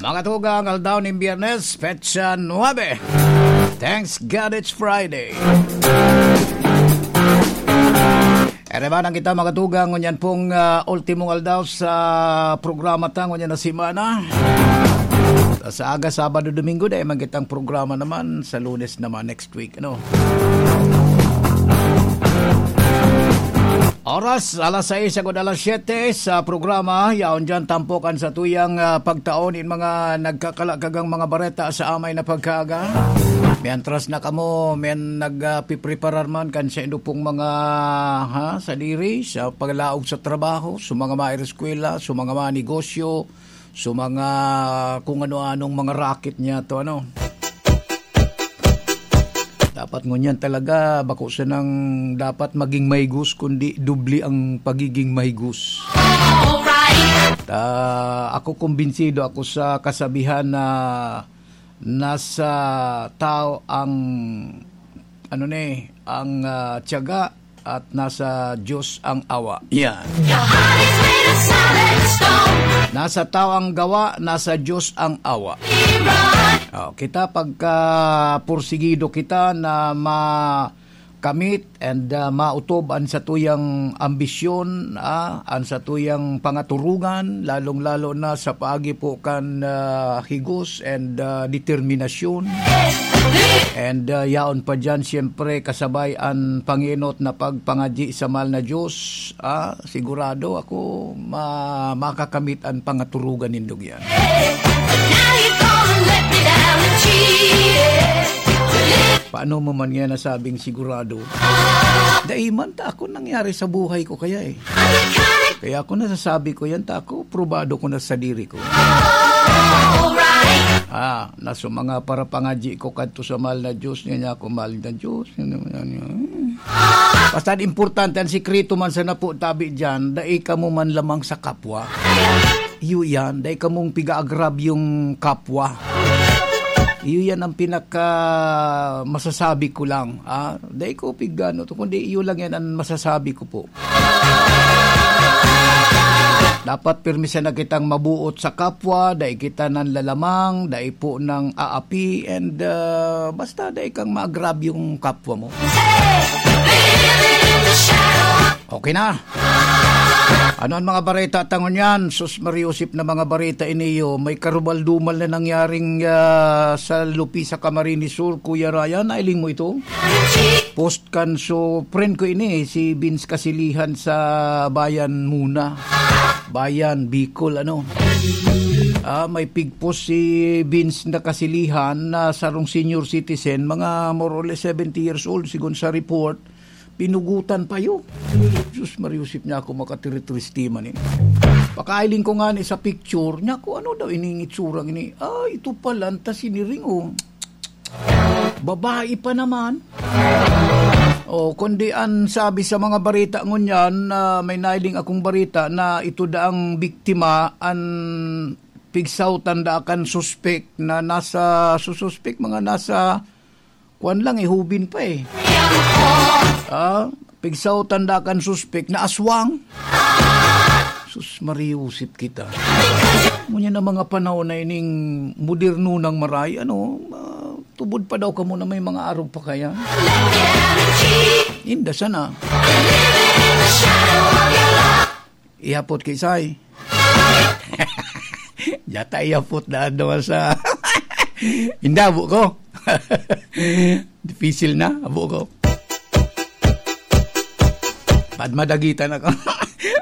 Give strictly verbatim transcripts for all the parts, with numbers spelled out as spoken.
Mga tugang, aldaw nin Biyernes, petsa nuebe. Thanks God it's Friday. Ere ba nang kita, mga tugang, ngunyan pong, ah, ultimong aldaw sa programa ta ngunyan na semana. Sa aga, Sabado, Domingo, dai man kitang programa naman. Sa Lunes naman, next week, ano? Oras, alas sais agud alas siyete sa programa. Yaon diyan tampok an satuyang, ah, pagtao nin mga nagkakalakagang mga bareta sa amay na pagkaaga. Mientras na kamo, men nag, ah, pipreparar man kan saindo pong mga, ha, sadiri sa paglaog sa trabaho, sa mga maeskwela, sa mga, mga negosyo, sa mga kung ano-anong mga racket niya to, ano. Dapat ngunyan talaga, bako sanang dapat maging mahigos, kundi doble ang pagiging mahigos. Alright. Ta, ako, kumbinsido ako sa kasabihan na nasa tao ang, ano ni, ang, ah, tiyaga at nasa Diyos ang awa. Yan. Your heart is made of solid stone. Nasa tao ang gawa, nasa Diyos ang awa. Be right. Oh, kita pagka pursigido kita na makamit and, ah, maotob an satuyang ambisyon, ah, an satuyang pangaturugan, lalong-lalo na sa paagi po kan, ah, higos and, ah, determinasyon. And, ah, yaon pa diyan, siyempre, kasabay an pangenot na pagpangadyi sa mahal na Diyos, ah, sigurado ako ma-, makakamit an pangaturugan nindong yan. Now you gonna let me down and cheat. Paano mo man nga nasabing sigurado? Dai man ta ako nangyari sa buhay ko kaya eh. Kaya ako nasasabi ko yan, ta ako, probado ko na sa diri ko. Alright. Ah, na sa mga parapangadyi ko kadto sa mahal na Diyos, niya, niya ako, mahal na Diyos. Yan, yan, yan. Basta importante, ang sikreto man sa napo tabi dyan, dai kamo man lamang sa kapwa. Iyo yan, dai kamong piga-agrabyong kapwa. Iyo yan ang pinaka masasabi ko lang. Ah, dai ko pigano to, kundi iyo lang yan ang masasabi ko po. Dapat pirmi sana kitang mabuot sa kapwa, dai kita nanlalamang, dai po nang aapi, and, ah, basta dai kang maagrabyong kapwa mo. Okay na. Ano ang mga bareta ta ngunyan? Sus, Mariusip na mga bareta iniyo. May karumal-dumal na nangyaring, ah, sa Lupi sa Camarines Sur, Kuya Ryan. Nailing mo ito? Post kan so friend ko ini, si Vince Kasilihan sa Bayan muna. Bayan, Bicol, ano. Ah, may pigpost si Vince na Kasilihan na sarong senior citizen, mga more or less seventy years old, sigon sa report, pinugutan pa yun. Sus, Mariusip niya ako, makatiritriste man eh. Pakailing ko nga ni sa picture niya, kung ano daw iningitsura ini. Ah, ito pala, ang ta siniring, oh. Babae pa naman. Oh, kundi an sabi sa mga barita ngunyan, na may nailing akong barita na ito daang biktima, an pigsautan da kan suspek na nasa, su-, suspek, mga nasa, kwan lang eh, hubin pa eh. Ah, pigsautan da kan suspek na aswang. Sus, mariusip kita. Ngunyan na mga panahon na ining moderno ng maray, ano, ah, tubod pa daw kamo na may mga arog pa kaya? Inda sana. Ihapot kay Sai. Yata ihapot na ano sa... Inda, abo ko. Dipisil na, abo ko. Pad madagitan ako.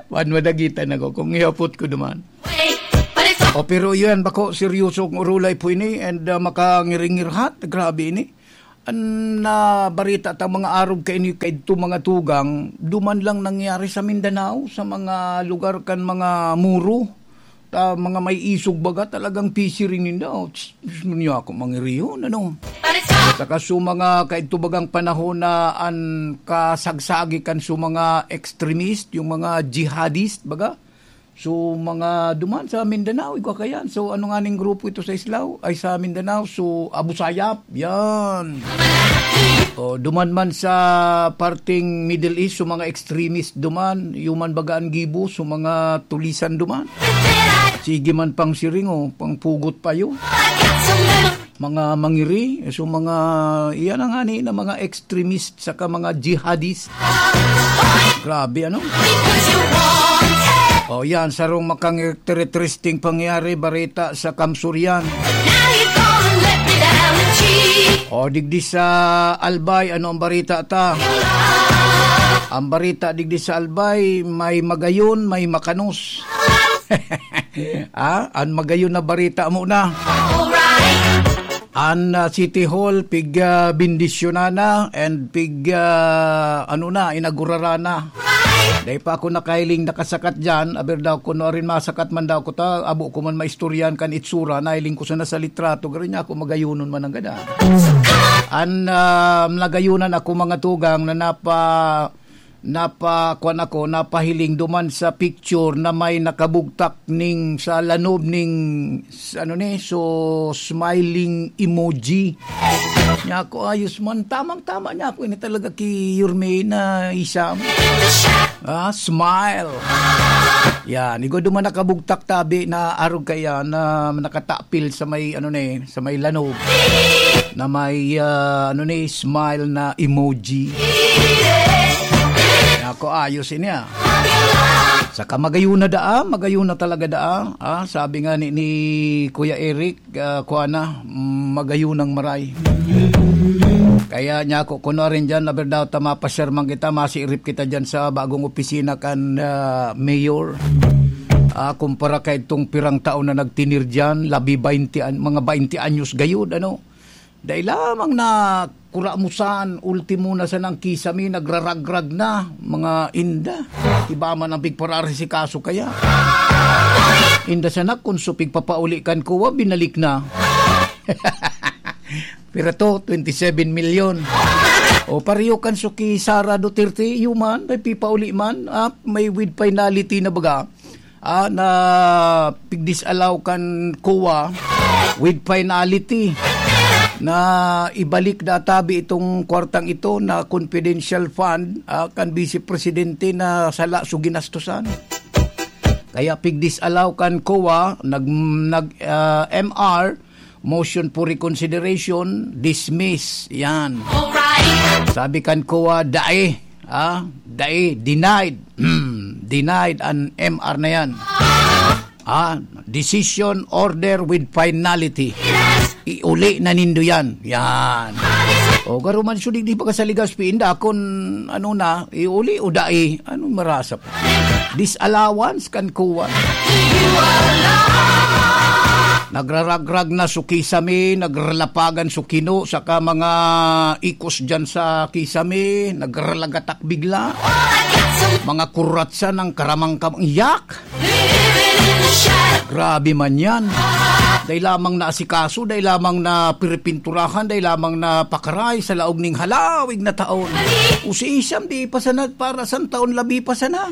Pad madagitan ako kung ihapot ko duman. O, pero yun, bako, seryoso kung urulay po ini, and, uh, makangiringirhat, grabe ini. An, ah, barita ta mga arog kaini kaidto, mga tugang, duman lang nangyari sa Mindanao, sa mga lugar kan mga Moro, ta mga may isog baga, talagang pisiring ninda. Oh, tss, gusto niyo ako mangiriyon, ano? Saka sa mga kaidto bagang panahon na an kasagsagi kan sa mga extremist, yung mga jihadist baga, so, mga duman sa Mindanao, igwa kayan. So, ano nga ning grupo ito sa Islao? Ay, sa Mindanao. So, Abu Sayyaf. Yan. O, duman man sa parting Middle East, so mga extremist duman. Yuman baga an gibo, so mga tulisan duman. Sige man pang siring, oh, pang pugot pa yun. Mga mangiri, so mga, iyan ang ani na mga extremist saka mga jihadist. Grabe, ano? Oh, yan, sarong makang interesting pangyayari, barita sa Kamsurian. O, digdi sa Albay, ano ang barita ta? Ang barita digdi sa Albay, may magayon, may makanos. Ah, an magayon na barita mo na. An, ah, City Hall, pig, ah, bendisyonana and pig, ah, ano na, inagurarana. Dai pa ako nakahiling nakasakat diyan, aber daw kuno arin masakat man daw ko ta, abo ko man maistoryan kan itsura, nahiling ko sana sa litrato, garo niya ako magayonon man ang gada. An, ah, nagayonan ako, mga tugang, na napa-, napa-, kwan ako, napahiling duman sa picture na may nakabugtak ning sa lanob ning, s-, ano ni, so, smiling emoji. Niya ako, ayos man, tamang-tama niya ako, ini talaga ki Yorme na isam. Ah, smile. Yan, igwa duman nakabugtak tabi na arog kaya na nakatapil sa may, ano ni, sa may lanob na may, ah, ano ni, smile na emoji. Ako, ayos ini, ah. Saka magayon na daa, magayon na talaga daa. Ah, sabi nga ni, ni Kuya Eric, ah, kuha na, mm, magayon ang maray. Kaya niya ako, kuno rin dyan, aber daw ta mapasyar man kita, masiirip kita dyan sa bagong opisina kan, ah, mayor. Ah, kumpara kay itong pirang taon na nagtinir dyan, labi baynte an-, mga baynte anyos gayud, ano. Dai lamang na kuramusan, ultimo na sanang kisame, nagraragrag na, mga inda. Iba man ang pigpararisikaso kaya. Inda sana kun so pigpapauli kan kuwa, binalik na. Pero to, twenty-seven million. O, pareho kan so ki Sara Duterte, human, may pipauli man, ah, may with finality na baga. Ah, na pigdisalaw kan kuwa with finality na ibalik na tabi itong kwartang ito na confidential fund, ah, kan Vice Presidente na sala so ginastosan. Kaya pigdisalaw kan kuwa, nag-, nag-, ah, M R, motion for reconsideration, dismiss. Yan. Alright. Sabi kan kuwa, dai. Ah, dai, denied. Hmm, denied an M R na yan. Ah, decision order with finality. Iuli na nindo yan. Yan. O, garo man siya digdi pa ka sa Legazpi, inda kun ano na, iuli o dai, ano marasa pa. Disallowance kan kuwan. Nagraragrag na so kisame, nagralapagan so kino, saka mga ikos dyan sa kisame, nagralagatak bigla. Mga kuratsa ng karamang-kamang yak. Grabe man yan. Dai lamang na asikaso, dai lamang na piripinturahan, dai lamang na pakaray sa laog ning halawig na taon. O si Isam, di pa sana para san taon labi pa sana.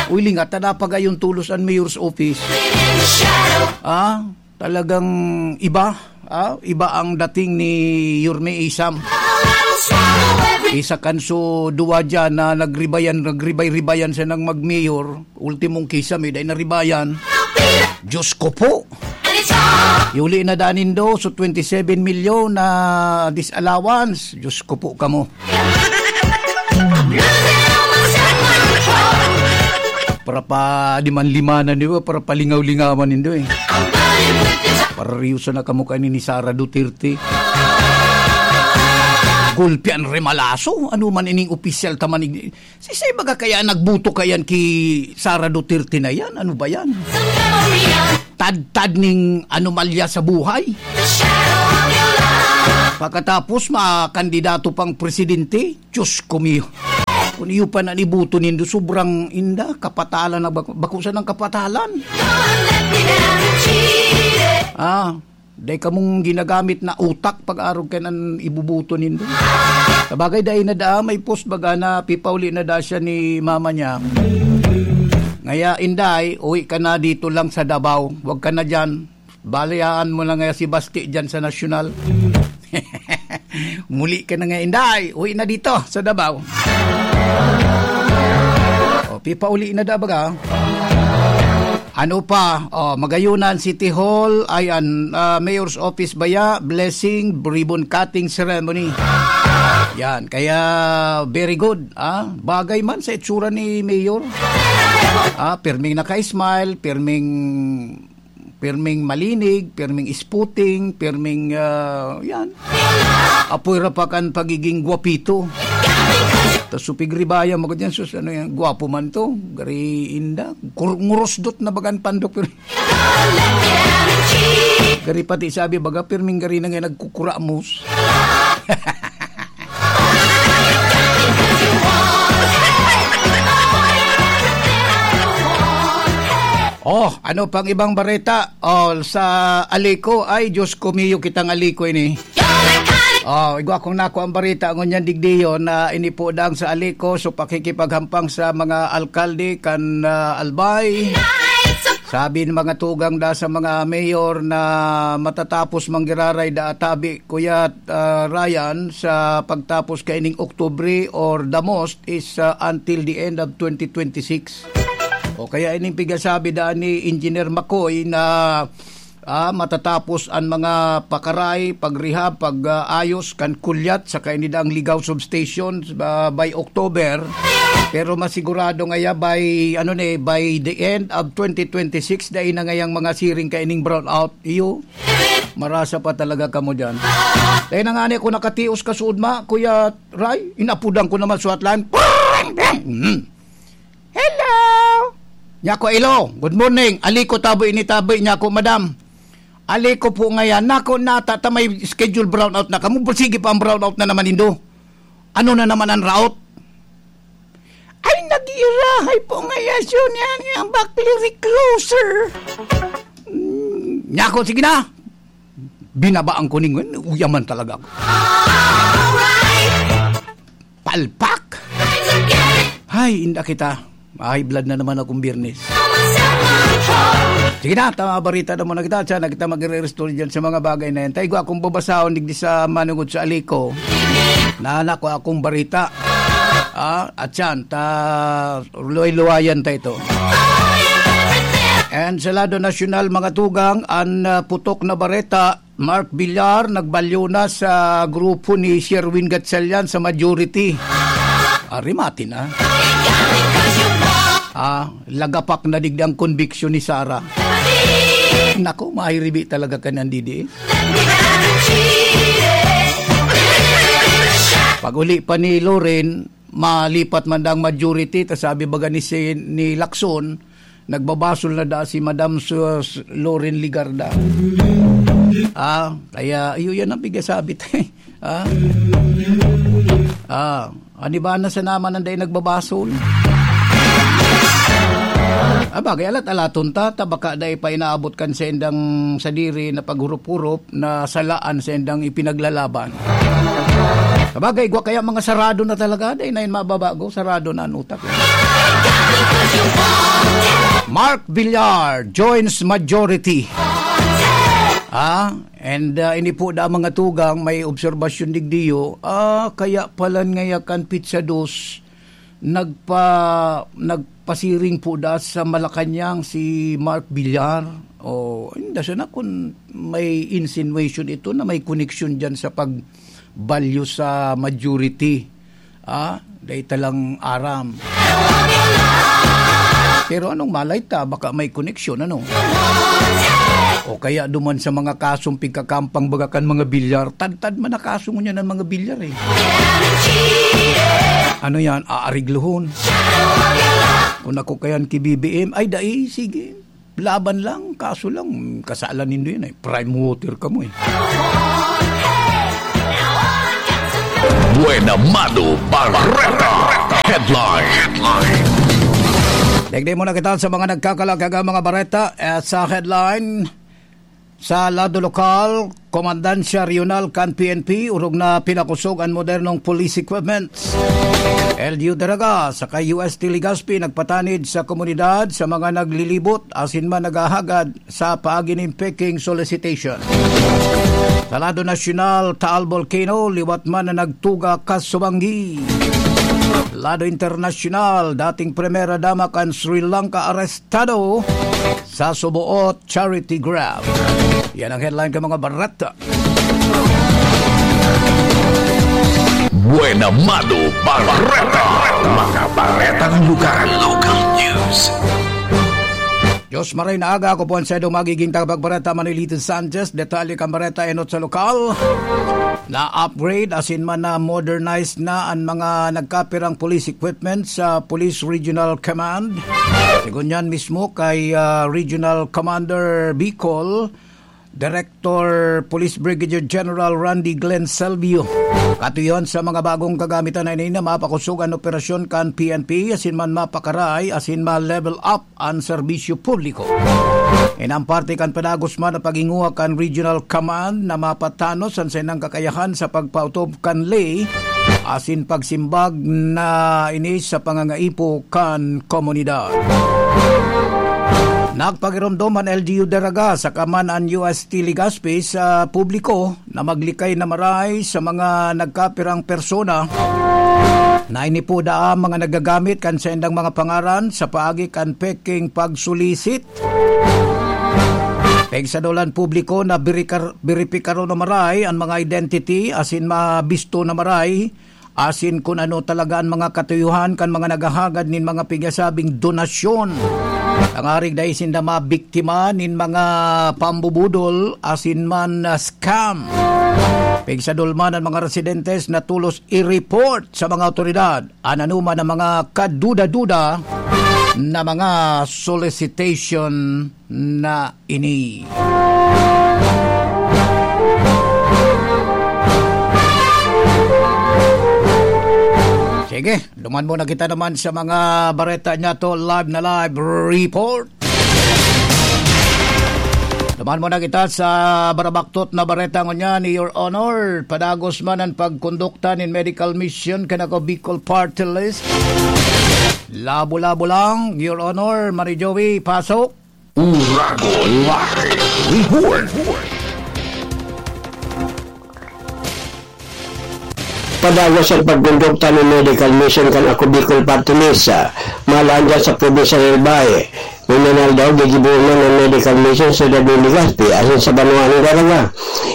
Uy, lingat na napagayon tulos an mayor's office. Ah, talagang iba. Ah, iba ang dating ni Yorme Isam. Isa kan so duwa dyan na nagribayan, nagribay-ribayan siya ng mag-mayor. Ultimong kisame, dai naribayan. Diyos ko po. Iuli na da nindo, so twenty-seven milyon na disallowance. Diyos ko po kamo. Para pa di man limanan, di ba? Para palingaw-lingawan nindo eh. Para riyosa na kamo kani ni Sara Duterte. Gulpi an remalaso. Ano man ining opisyal ta manig-, sisay baga kaya nagboto kayan ki Sara Duterte na yan? Ano ba yan? Tadtad ning anomalya sa buhay. Pagkatapos, makandidato pang presidente, Diyos ko mio. Kung iyo pa na niboto nindo, sobrang inda, kapatalan na bako, bako sa nang kapatalan. Ah, dai kamong ginagamit na utak pag-arog kay nan ibuboto nindo. Sabagay, dai na daa, may post baga na pipauli na daa siya ni mama niya. Ngaya, Inday, uwi ka na dito lang sa Davao. Huwag ka na dyan. Balayaan mo na nga si Basti dyan sa Nasyonal. Muli ka na nga, Inday. Uwi na dito sa Davao. O, pipauli na da baga. Ano pa? Oh, Magayunan City Hall, ay an, ah, Mayor's Office baya, blessing, ribbon cutting ceremony. Yan, kaya very good, ah. Bagay man sa itsura ni Mayor. Ah, pirming naka-smile, pirming, pirming malinig, pirming isputing, pirming, ah, yan. Apoy ra pa kan pagiging gwapito. Tas supig ribaya, magod yan, sus, ano yan, gwapo man to. Gari inda. Kur-, ngurusdot na bagan pandok, pero gari pati sabi, baga, pirming gari na nga nagkukuramos. Oh, ano pang ibang bareta? Oh, sa Alico, ay, Diyos ko, miyo kitang Alico ini. Oh, igwa kong nako ang bareta ngunyan digdiyon na inipo dang sa Alico, so pakikipaghampang sa mga alkalde kan, ah, Albay. Sabi ng mga tugang da sa mga mayor na matatapos manggiraray da atabi, Kuya, ah, Ryan, sa pagtapos kaining Oktubre or the most is, ah, until the end of twenty twenty-six. O kaya ining pigasabi da ni Engineer Makoy na, ah, matatapos ang mga pakaray, pag-rehab, pag-ayos kan Kulyat sa kainidang Ligaw Substation, ah, by October. Pero masigurado ngaya by, ano ni, by the end of twenty twenty-six, dai na ngayang mga siring kaining brownout. Iyo, marasa pa talaga kamo dyan. Dahil na nga ni ako nakatios kasuod ma, Kuya Ray, inapudan ko naman suwat lang. Mm. Hello! Nyako, hello. Good morning. Aliko, taboy ini, taboy. Nyako, madam. Aliko po ngayan. Nako, nata, ta may schedule brownout na kamo. Sige pa ang brownout na naman, Indo. Ano na naman ang route? Ay, nag-iirahay po ngayan siya niyan, yung back recloser. Mm, nyako, sige na. Binabaan ko ning, uyaman talaga ako. Palpak! Hay, inda kita. High blood na naman akong Biyernes. Sige na, tama, barita na muna kita. Diyan na kita magre-restore dyan sa mga bagay na yan. Tayo, akong babasahon digdi sa manungod sa Aliko. Na anak ko akong barita. Ah, at yan, ta, luway-luwayan ta ito. And sa lado nasyonal, mga tugang, ang, ah, putok na bareta, Mark Villar nagbalyo na sa grupo ni Sherwin Gatchalian sa majority. Arimati na. Ah, lagapak na digdi ang conviction ni Sara. Nako, mahiribi talaga ka ng D D S. Pag-uli pa ni Loren, malipat man daw ang majority, ta sabi baga ni si, ni Lacson, nagbabasol na da si Madam Sus Loren Legarda. Ah, kaya iyo yan ang pigasabi tayo. Ah? Ah, ani ba na sa naman ang dai nagbabasol? Ah, bagay, alat-alaton ta, ta baka dai pa inaabot kan sa indang sadiri na paghurup-hurup na salaan sa indang ipinaglalaban. Sabagay, gwa kaya mga sarado na talaga, dai na yun mababago, sarado na ang utak. Mark Villar joins majority. Ah, and, ah, ini po da mga tugang, may obserbasyon digdiyo. Ah, kaya palan ngaya kan Pizza Dos, nagpa-, nagpasiring po da sa Malacañang si Mark Villar. O, hindi siya na kung may insinuation ito na may connection dyan sa pagbalyo sa majority. Ah, dahil talang aram. Pero anong malay ta, baka may koneksyon, ano? O kaya duman sa mga kasong pigkakampang baga kan mga Villar, tadtad man na kaso ngunyan ang mga Villar eh. Ano yan, aariglohon? Kung ako kayan ki B B M, ay dai, sige. Laban lang, kaso lang, kasalan nindo yan eh. Prime water ka mo eh. Buena Mano Barreta. Headline. Headline. Digdi muna kita sa mga nagkakalagkagang mga bareta. Eh, sa headline, sa lado lokal, Komandansya Regional kan P N P, orog na pinakosog an modernong police equipments. L G U Daraga saka U S T Legazpi nagpatanid sa komunidad sa mga naglilibot asin man naghahagad sa paagi nin peking solicitation. Sa lado nasyonal, Taal Volcano, liwat man na nagtuga kasubanggi. Lado internasyonal, dating Primera Dama kan Sri Lanka arestado sa suboot charity grab. Yan ang headline kan mga bareta. Buena Mado Bareta. Mga baretang lugar. Local news. Diyos maray na aga, ako po ang saydong magiging tagapagbareta, Manolito Sanchez. Detalye kan bareta enot sa lokal. Na-upgrade, asin man na-modernize na an mga nagkapirang police equipment sa Police Regional Command. Sigon niyan mismo kay, ah, Regional Commander Bicol, Director Police Brigadier General Randy Glenn Selvio. Katuyon sa mga bagong kagamitan na ini na mapakosog an operasyon kan P N P, asin man mapakaray, asin ma-level up an serbisyo publiko. Inang parte kan padagos man na paghinguha kan Regional Command na mapatanos an saindang kakayahan sa pagpaotob kan ley asin pagsimbag na ini sa pangangaipo kan komunidad. Nagpagiromdom an L G U Daraga saka man an U S T Legazpi sa publiko na maglikay na maray sa mga nagkapirang persona na ini po daa mga nagagamit kan saindang mga pangaran sa paagi kan peking pagsulisit. Pigsadolan publiko na birikar-, biripikaron na maray an mga identity asin mabisto na maray asin kun ano talaga an mga katuyuhan kan mga naghahagad nin mga pigasabing donasyon. Tangarig dai sinda mabiktima nin mga pambubudol asin man, ah, scam. Pigsadol man an mga residentes na tolos i-report sa mga awtoridad an anoman na mga kaduda-duda na mga solicitation na ini. Sige, duman muna kita naman sa mga bareta niya to, live na live report. Duman muna kita sa barabaktot na bareta ngunyan, Your Honor. Padagos man an pagkondukta nin medical mission kan Ako Bicol Party List. Labo-labo lang, Your Honor, Mari Joey, pasok. Uragon Live Report. Padagos an pagkondukta nin medical mission kan Ako Bicol Party List, ah, maalahan dyan sa probinsya ng Albay. Ngunyan aldaw, gigibohon man an medical mission sa syudad nin Legazpi asin sa banwaan nin Daraga.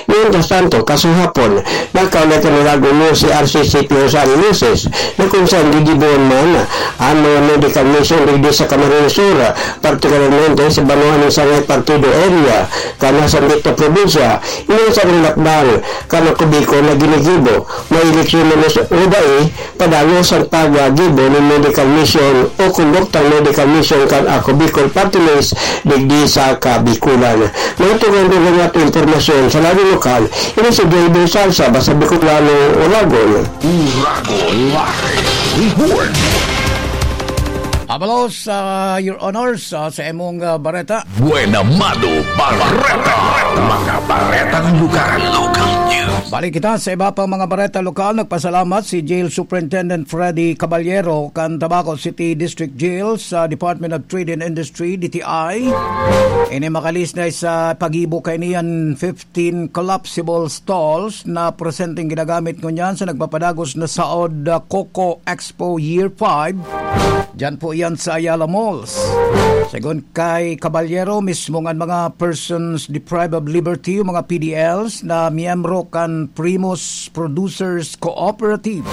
Mientras tanto, kasuhapon, nagkaulay kan Uragon News si R C C P Jose Angel Luces na kung saan gigibohon man an mga medical mission digdi sa Camarines Sur, partikularmente sa banwaan nin Sangay Partido Area, kan nasambit na probinsya. Ini an sarong lakbang kan Ako Bicol na ginigibo, may eleksyon man o dai, padagos an paggibo nin medical mission o konduktang medical mission kan Ako Bicol Party List digdi sa Kabikulan. Mga tugang-tugang at impormasyon sa lado lokal, ini si J B Salsa, basta Bicolano, Uragon. Uragon Live Report. Abalos, ah, Your Honors, ah, sa imong, ah, bareta. Buena Mado Bareta. Mga baretang lugar. Local news. Balik kita sa iba pang mga bareta lokal. Nagpasalamat si Jail Superintendent Freddy Caballero kan Tabaco City District Jail sa Department of Trade and Industry, D T I. Ini makalis na sa paggibo kaini an fifteen collapsible stalls na presenteng ginagamit ngunyan sa nagpapadagos na Saod, ah, Coco Expo Year five. Diyan po yan sa Ayala Malls. Segun kay Caballero, mismo ngan mga persons deprived of liberty o mga P D Ls na miyembro kan Primus Producers Cooperative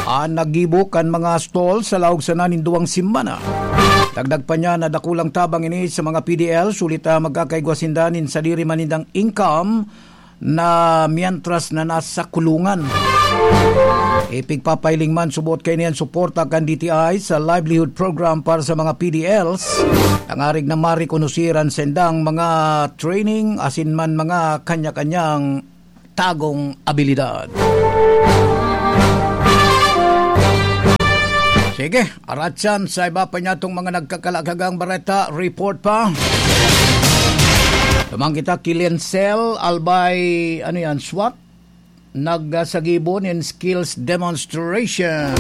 an naggibo kan mga stall sa laog sana nin duwang semana. Dagdag pa niya na dakulang tabang ini sa mga P D Ls, huli ta magkakaigwa sinda nin sadiri man nindang income na mientras na nasa kulungan. Ipigpapahiling man subot kaini an suporta kan D T I sa livelihood program para sa mga P D Ls, tangarig na marekonoser an sendang mga training asin man mga kanya-kanyang tagong abilidad. Sige, aratsan sa iba pa niya tong mga nagkakalakagang bareta, report pa. Tumang kita ki Lincel Albay, ano yan, swat? Nagsagibo nin skills demonstration.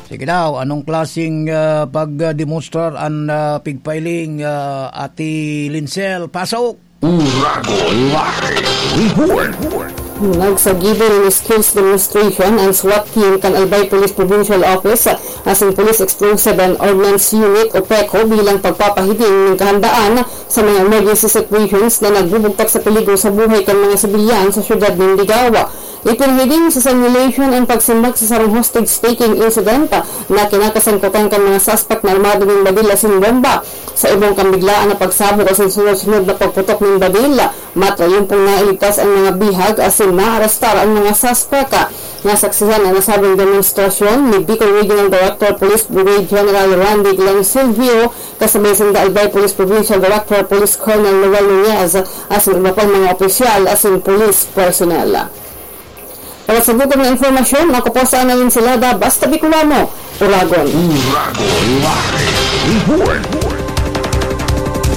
Sige daw, anong klaseng, ah, pagdemonstrar an, ah, pigpailing, ah, Ate Lincel? Pasok! Uragon Live Report. Nagsagibo nin skills demonstration an SWAT team kan Albay Police Provincial Office asin Police Explosive and Ordnance Unit o PECO bilang pagpapahiling nin kahandaan sa mga emergency situations na nagbubugtak sa peligro sa buhay kan mga sibilyan sa siyudad nin Ligao. Ipinahiling sa simulation an pagsimbag sa sarong hostage-taking incident na kinakasangkutan kan mga suspect na armado nin badil asin bomba. Sa ibong kan biglaan na pagsabog asin sunod-sunod na pagputok nin badil, matrayumpong nailigtas an mga bihag asin naarestar an mga suspek. Nasaksihan an nasabing demonstrasyon ni Bicol Regional Director Police Brigade General Randy Glenn Silvio, kasabay sinda Albay Police Provincial Director Police Colonel Noel Nunez asin iba pang mga opisyal asin police personnel. Para sa gutom na informasyon, ako po sa Analin Silada, basta Bicolano, Uragon. Uragon Live Report.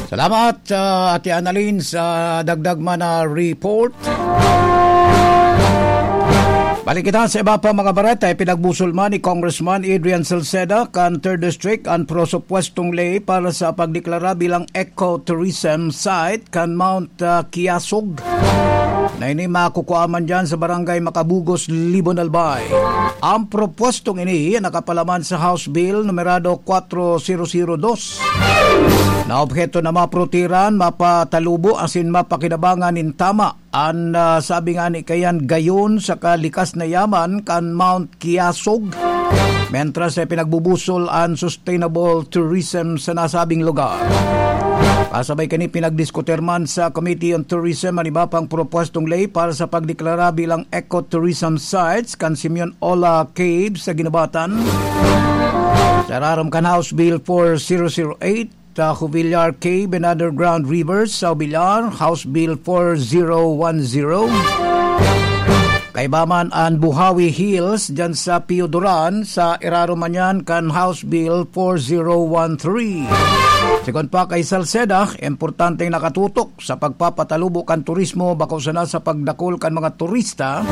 Salamat, ah, Ate Annalyn, sa dagdag man na report. Balik kita sa iba pa mga bareta. Ipinagbusol man ni Congressman Adrian Salceda kan Third District an prosupwestong ley para sa pagdeklara bilang ecotourism site kan Mount, ah, Kiasog, na ini makukua man dyan sa Barangay Macabugos, Libon, Albay. Ang propwestong ini nakapalaman sa House Bill numerado kwatro zero zero dos, na obheto na maprotehiran, mapatalubo asin mapakinabangan nin tama an, ah, sabi nga ni kayan gayon sa kalikas na yaman kan Mount Kiasog, mentras ay pinagbubusol an sustainable tourism sa nasabing lugar. Kasabay kani, pinagdiskutir man sa Committee on Tourism an iba pang propwestong ley para sa pagdeklara bilang ecotourism sites kan Simeon Ola Cave sa Guinobatan, sa irarom kan House Bill four zero zero eight, sa Jubilar Cave and Underground Rivers sa Jubilar, House Bill four zero one zero. Kaiba man an Buhawi Hills dyan sa Pio Duran, sa irarom man yan kan House Bill four zero one three. Sigon pa kay Salceda, importanteng nakatutok sa pagpapatalubo kan turismo, bako sana sa pagdakul kan mga turista,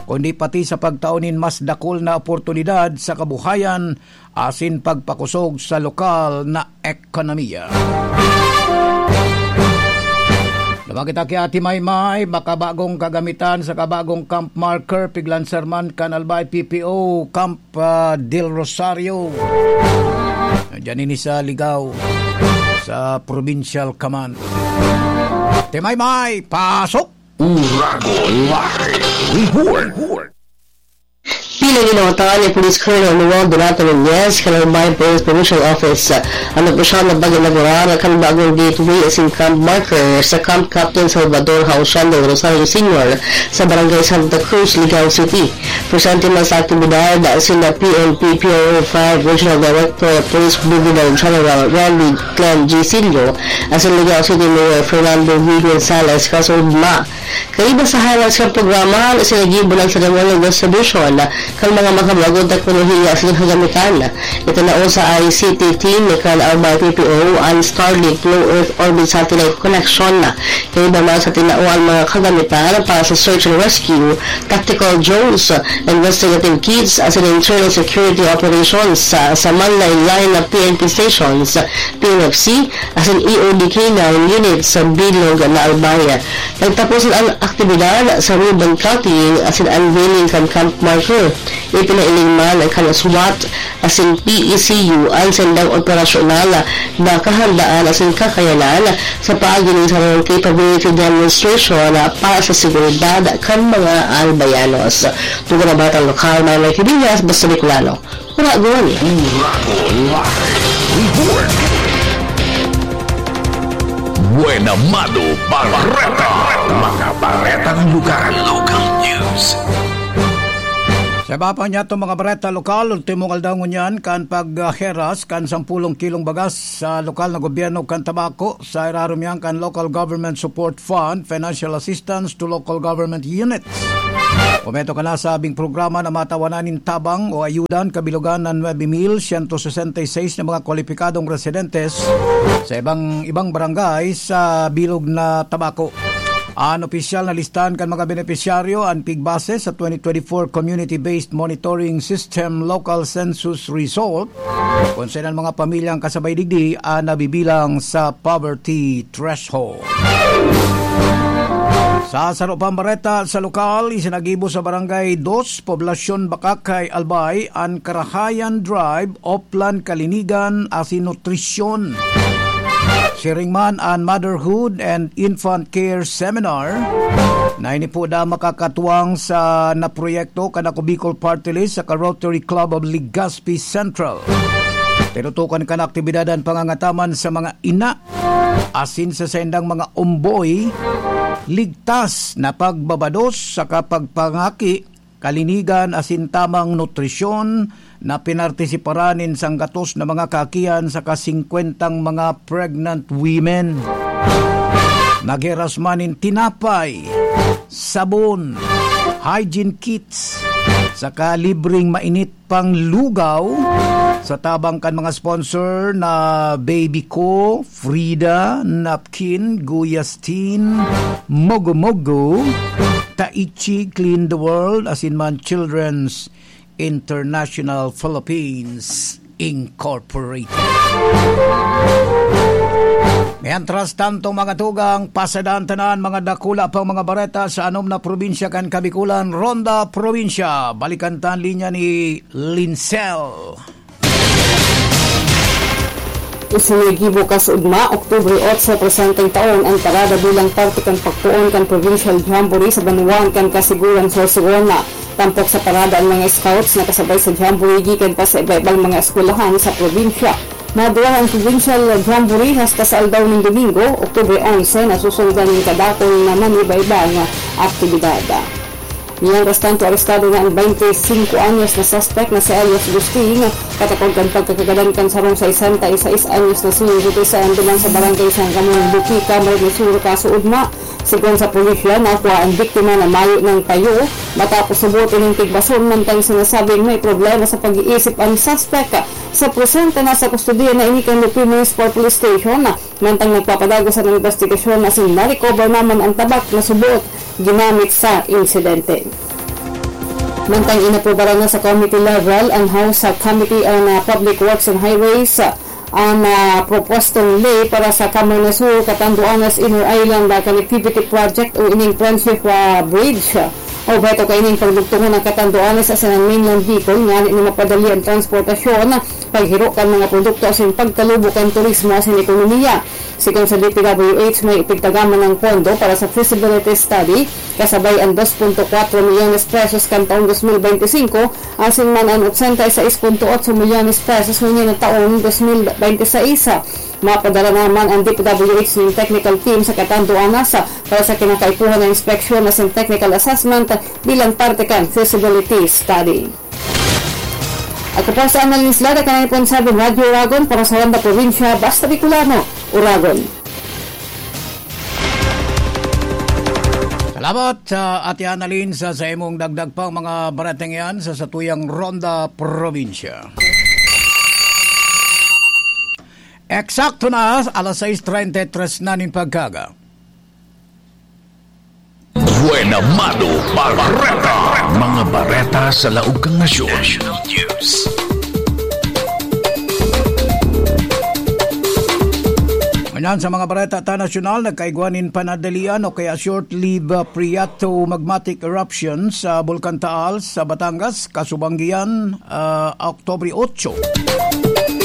kundi pati sa pagtao nin mas dakul na oportunidad sa kabuhayan asin pagpakosog sa lokal na ekonomiya. Duman kita ki Ate Maymay, makabagong kagamitan sa kabagong camp marker, piglanser man kan Albay P P O, Camp, ah, Del Rosario. Diyan ini sa Ligao, sa Provincial Command. Ate Maymay, pasok! Uragon Live Report. Pinanginotan ni Police Colonel Noel Donato Nunez kan Albay Police Provincial Office an opisyal na pag-inaugurar kan bagong gateway asin camp marker sa Camp Captain Salvador Hausian del Rosario Senior sa Barangay Santa Cruz, Ligao City. Presente man sa aktibidad sina P N P P R O five Regional Director Police Brigadier General Randy Clem G. Silio asin Ligao City Mayor Fernando V. Gonzalez kasunod ma Kaiba sa highlights kan programa, sinagibo ng ceremonial distribution kan mga makabagong teknolohiya sa kagamitan. Itinao sa I C T team kan Albay P P O ang Starlink Low Earth Orbit Satellite Connection. Kaiba man sa tinao ang mga kagamitan para sa search and rescue, tactical drones, investigative kits, asin internal security operations sa, sa manlaen-laen na P N P stations, P N F C, asin E O D K nine units sa bilog na Albay. Nagtapos an aktibidad sa ribbon cutting asin unveiling kan camp marker. Ipinailing man kan SWAT asin P E C U ang sindang operasyonal na kahandaan asin kakayanan sa paagi nin sarong capability demonstration para sa seguridad kan mga Albayanos. Tugon na Batang Lokal, Manong Kibinyas, basta Bicolano. Uragon. Uragon Live Report. Buena Mano Bareta. Mga baretang lugar. Local news. Sa iba pa niya itong mga bareta lokal, ultimong aldaw ngunyan kan pagheras kan sampulong kilong bagas sa lokal na gobyerno kan Tabaco, sa irarom yan kan Local Government Support Fund, Financial Assistance to Local Government Units. Komento ka na sa abing programa na matawanan nin tabang o ayuda an kabilogan na nuebe mil siyento sesenta y seis na mga kwalipikadong residentes sa ibang, ibang barangay sa bilog na Tabaco. An opisyal na listahan kan mga benepisyaryo an pigbase sa twenty twenty-four Community-Based Monitoring System Local Census Result, kun saan an mga pamilyang kasabay digdi an nabibilang sa poverty threshold. Sa saro pang bareta sa lokal, isinagibo sa Barangay Dos, Poblasyon Bakakay, Albay, an Karahayan Drive, Oplan Kalinigan asin Nutrisyon. Siring man an Motherhood and Infant Care Seminar na ini po da makakatuwang sa naproyekto kan Ako Bicol Party List saka Rotary Club of Legazpi Central. Tinutukan kan aktibidad an pangangataman sa mga ina asin sa saindang mga omboy, ligtas na pagbabados saka pagpangaki, kalinigan asin tamang nutrisyon na pinartisiparan nin sanggatos na mga kaakihan saka singkwentang mga pregnant women. Naghiras man nin tinapay, sabon, hygiene kits, saka libreng mainit panglugaw sa tabang kan mga sponsor na Baby Co, Frida, Napkin, Guyastin, Mogo Mogo, Taichi, Clean the World, asin man Children's International Philippines Incorporated. Mientras tanto, mga tugang, pasadahan tanan mga dakula pang mga bareta sa anom na probinsya kan Kabikulan, Ronda Probinsya. Balikan ta an linya ni Lincel. Isinigibo kasuodma, Oktubre otso, presenteng taon, an parada bilang parte kan pagpoon kan Provincial Jamboree sa banwaan kan Kasiguran, Sorsogon. Tampok sa parada an mga scouts na kasabay sa jamboree gikan pa sa iba-ibang mga eskwelahan sa probinsya. Maduwa an Provincial Jamboree hasta sa aldaw nin Domingo, Oktubre onse, na susundan nin kadakul na maniba-ibang aktibidad. Mientras tanto, arestado na an baynte singko anyos na suspek na si alias Gusting, katakod kan pagkakagadan kan sarong sesenta y seis anyos na senior citizen duman sa Barangay San Ramon, Buki, Camarines Sur, kasuodma. Segun sa pulisya, nakua an biktima na mayo nang payo matapos huboton nin tigbason, mantang sinasabing may problema sa pag-iisip an suspek. Sa presente, nasa kustodiya na ini kan Lupin Municipal Police Station, mantang nagpapadagos an investigasyon asin na-recover naman an tabak na subot ginamit sa insidente. Mantang inaprobaran na sa committee level an House Committee on, ah, Public Works and Highways, ah, an, ah, propwestong ley para sa Camarines Sur, Catanduanes Inner Island, ah, Connectivity Project o ining Friendship, ah, Bridge. Obheto kaining pagdugtongon ang Catanduanes asin ang mainland Bicol, ngani na mapadali ang transportasyon, paghiro kan mga produkto asin pagkalubo kan turismo asin ekonomiya. Sigon sa D P W H, may ipigtagaman ng pondo para sa feasibility study, kasabay ang dos punto kwatro milyones pesos kan taong dos mil bente singko, asin man ang otsenta y seis punto otso milyones pesos ngunyan na taong dos mil bente seis. Mapadara naman ang D P W H nin technical team sa Catanduanes para sa kinakaipuhan na inspeksyon asin technical assessment bilang parte kan feasibility study. Ako po sa Annalyn Islada, kanan po sa Radyo Uragon para sa Ronda Probinsya, Basta Bicolano, Uragon. Salamat sa Ate Annalyn sa, sa imong dagdag pang mga baretang yan sa satuyang Ronda Probinsya. Eksakto na, alas sais treinta y tres na nin pagkaga. Buena Mano Bareta. Mga bareta sa laog kan nasyon. National News. Ngunyan sa mga bareta ta nasyonal, nagkaigwa nin panadalian o kaya short-lived, uh, phreatomagmatic eruption sa Bulkan Taal sa Batangas, kasubanggian, ah, Oktubre otso.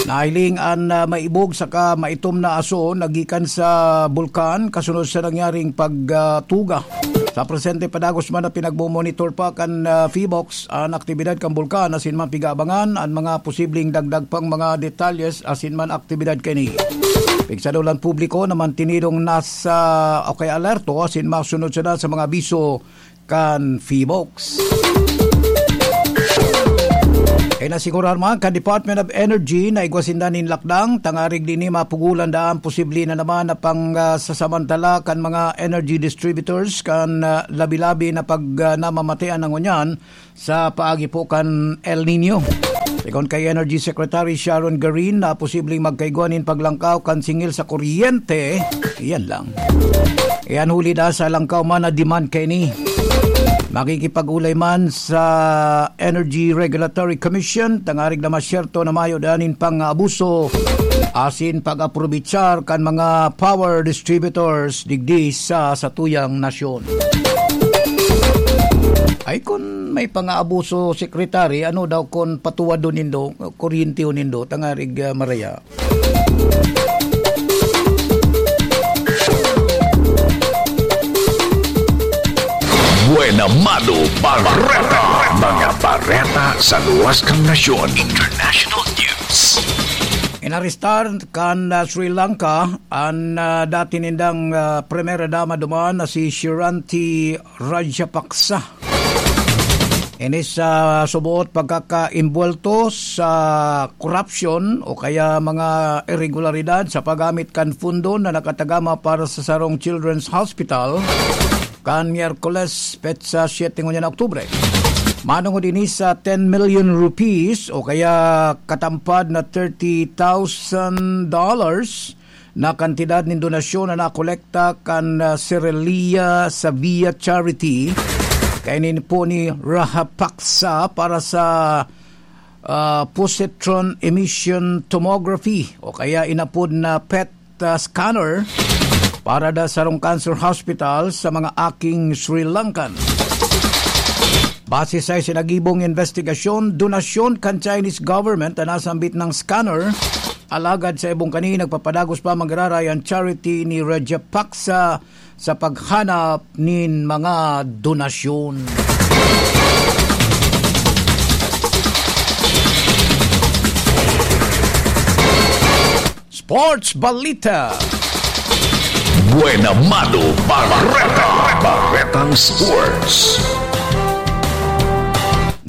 Nahiling an, ah, maibog saka maitom na aso na gikan sa bulkan kasunod sa nangyaring pagtuga. Sa presente, padagos man na pinagmomonitor pa kan, ah, PHIVOLCS an aktibidad kan bulkan asin man pig-aabangan an mga posibleng dagdag pang mga detalyes asin man aktibidad kaini. Pigsadulan publiko na mantinidong nasa o kaya alerto asin masunod sana sa mga abiso kan PHIVOLCS. Inasigurar man kan Department of Energy na igwa sinda nin lakdang, tangarig dini mapugulan daan posible na naman na pang, ah, sasamantala kan mga energy distributors kan, ah, labi-labi na pag, ah, namamatean na ngunyan sa paagi po kan El Nino. Sigon kay Energy Secretary Sharon Garin na posibleng magkaigwa nin paglangkaw kan singil sa kuryente, iyan lang. Iyan huli na sa langkaw man na demand kaini. Makikipag-ulay man sa Energy Regulatory Commission, tangarig na masyerto na mayo danin pang-abuso asin pag-aprobechar kan mga power distributors digdi sa satuyang nasyon. Ay, kun may pangaabuso, Secretary, ano daw kun patuwadon nindo, kuryentehon nindo, tangarig, ah, maraya? Buena Mano Bareta. Mga bareta sa luwas kan nasyon. International news. Inarestar kan, ah, Sri Lanka an, ah, dati nindang, ah, Primera Dama duman na si Sreeranti Rajapaksa. Ini sa suboot pagkakaimbwelto sa korupsyon o kaya mga irregularidad sa paggamit kan fundo na nakatagama para sa sarong Children's Hospital kan Miyerkules, petsa siyete ngunyan na Oktubre. Manongod ini sa ten million rupees o kaya katampad na thirty thousand dollars na kantidad nin donasyon na nakolekta kan, ah, Srelia Savia Charity kaini po ni Rajapaksa para sa, ah, positron emission tomography o kaya inapod na pet, ah, scanner para da sarong cancer hospital sa mga aking Sri Lankan. Base sa isinagibong investigasyon, donasyon kan Chinese government na nasambit ng scanner, alagad sa ibong kani nagpapadagos pa magiraray ang charity ni Rajapaksa sa paghanap nin mga donasyon. Sports Balita. Buena Mano Bareta. Baretang Sports.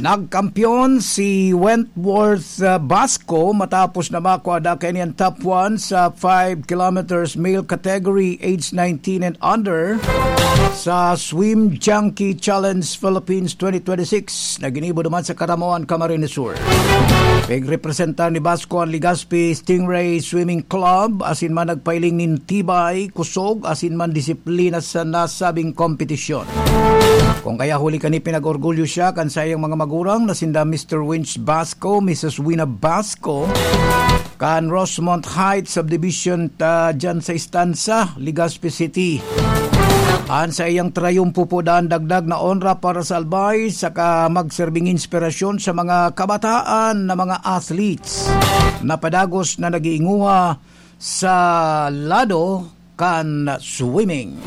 Nagkampiyon si Wentworth, uh, Basco matapos na makua da kaini an top one sa five kilometers male category, age nineteen and under, sa Swim Junkie Challenge Philippines twenty twenty-six na ginibo duman sa Caramoan, Camarines Sur. Pigrepresentar ni Basco an Legazpi Stingray Swimming Club, asin man nagpailing nin tibay, kusog, asin man disiplina sa nasabing kompetisyon. Kung kaya huli kani pinag-orgulyo siya kan saiyang mga magurang na sinda Mister Winch Basco, Missus Wina Basco, kan Rosemont Heights Subdivision ta dyan sa Estanza, Legazpi City. An saiyang trayumpo po daan dagdag na onra para sa Albay, saka magserbing inspirasyon sa mga kabataan na mga athletes na padagos na nag-iinguha sa lado kan swimming.